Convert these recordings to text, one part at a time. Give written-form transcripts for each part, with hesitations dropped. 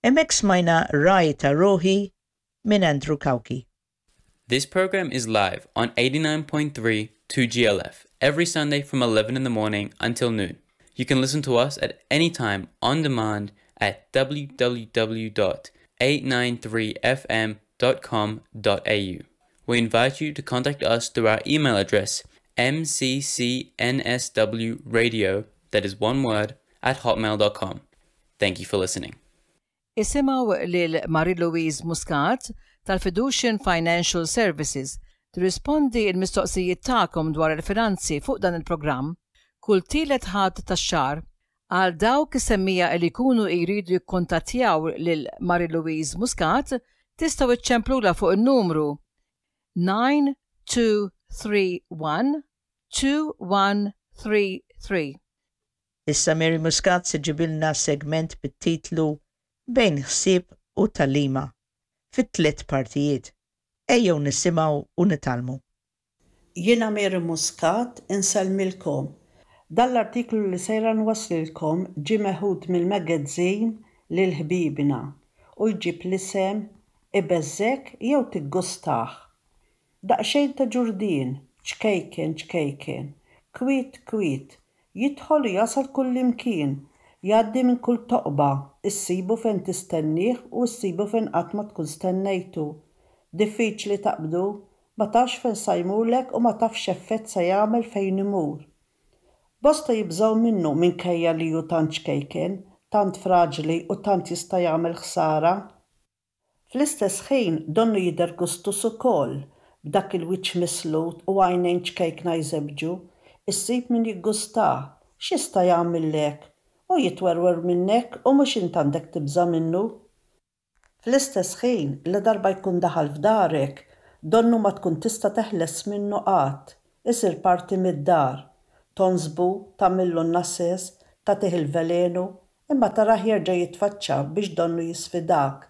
Hemmhekk smajna Ragħaj ta' Ruħi minn Andrew Cauchi. This program is live on 89.3 2GLF every Sunday from 11 in the morning until noon. You can listen to us at any time on demand at www.893fm.com.au. We invite you to contact us through our email address mccnswradio, that is one word, at hotmail.com. Thank you for listening. Isimgħu lil Marie-Louise Muscat tal-Fiducian Financial Services tirrispondi l-mistoqsijiet tagħkom dwar il-finanzi fuq dan il-programm kull tielet Ħadd tax-xahar. Għal dawk is-semmiegħa li jkunu jridu jikkuntattjaw lil Marie-Louise Muscat tistgħu iċċemplulha fuq in-numru 9231 2133. Issa Mary Muscat se ġġibilna segment bit-titlu Bejn ħsieb u tagħlima fi tliet partijiet. Ejjew nisimgħu u nitgħallmu. Jiena Mary Muscat insellmilkom. Dan l-artiklu li sejra nwasslilkom ġie meħud mill-magazine Lil Ħbiebna u jġib l-isem Ibeżżgħek jew Tiggustah? Daqsxejn ta' ġurdien, ċkejken ċkejken, kwiet kwiet, jidħol u jasal kullimkien, jgħaddi minn kull toqba, issibu fejn tistennieh u issibu fejn qatt ma tkun stennejtu. Diffiċli taqbdu, ma tafx fejn sa jmurlek u ma tafx x'effett sa jagħmel fejn imur. Bosta jibżgħu minnu minkejja li hu tant ċkejken, tant fraġli u tant jista' jagħmel ħsara. Fl-istess ħin donnu jidher gustuż ukoll, b'dak il-wiċċ mislut u għajnejn ċkejkna jżebbġu. Issib min jiggustah. X'jista' jagħmillek? Hu jitwerwer minnek u mhux int għandek tibża' minnu. Fl-istess ħin, ladarba jkun daħal f'darek, donnu ma tkun tista' teħles minnu qatt. Isir parti mid-dar. Tonsbu, tagħmillu n-nases, tagħtih il-velenu, Imma tarah jerġa' jitfaċċa biex donnu jisfidak.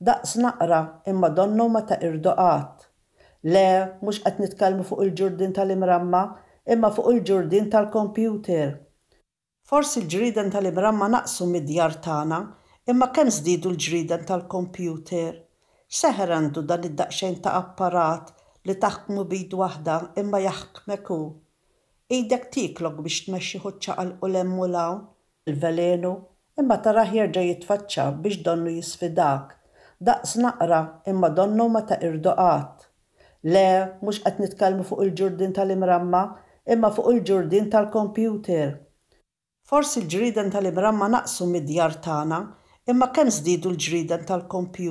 Daqs naqra, imma donnu ma taqirdu qatt. Le, mhux qed nitkellmu fuq il-ġurdien tal-imramma, imma fuq il-ġurdien tal-kompjuter. Forsi l-ġrieden tal-imramma naqsu mid-djar tagħna, imma kemm żdiedu l-ġrieden tal-kompjuter? X'seħer għandu dan id-daqsxejn ta' apparat li taħkmu b'id waħda imma jaħkmek hu? Idek tieklok biex tmexxih u ċċaqalqu 'l hemm u 'l hawn. Il-velenu, imma tarah jerġa' jitfaċċa biex donnu jisfidak. Daqs naqra, imma donnu ma taqirdu qatt. Le, mhux qed nitkellmu fuq il-ġurdien tal-imramma, imma fuq il-ġurdien tal-kompjuter. Forsi l-ġrieden tal-imramma naqsu mid-djar tagħna, imma kemm żdiedu l-ġrieden tal-kompjuter?